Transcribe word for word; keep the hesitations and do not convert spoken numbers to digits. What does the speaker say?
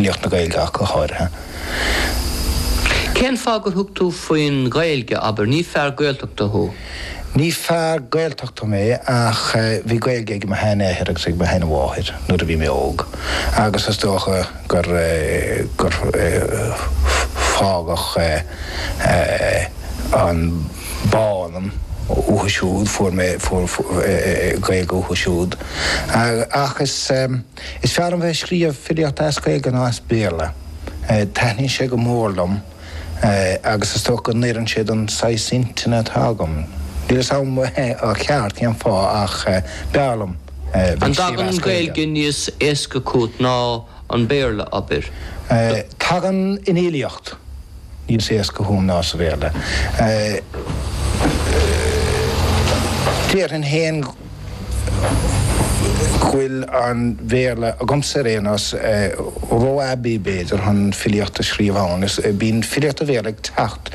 Filíocht na Gaeilge ach go háirithe. Cén fáth gur thug tú faoin Ghaeilge abair ní fear Gaeltachta thú? Ní fear Gaeltachta mé ach bhí Gaeilge ag mo sheanathair agus ag mo sheanmháthair nuair a bhí mé óg agus is dócha gur gur fágadh an bá ionam uathu siúd fuair mé Gaeilge uathu siúd ach is is fearr liom bheith ag scríobh filíocht as Gaeilge ná as Béarla. Taitníonn sé go mór liom agus is dócha go n-oireann sé don saghas intinne atá agam. Níl a fhios agam an ceart cén fáth ach b'fhearr liom An dtagann an Ghaeilge níos éasca chugat ná an Béarla abair? Tagann an fhilíocht níos éasca chugam ná sa Bhéarla. Déarfainn féin go bhfuil an Bhéarla agamsa ar aon nós ró-aibí b'fhéidir chun filíocht a scríobh ann. Bíonn filíocht an Bhéarla ag teacht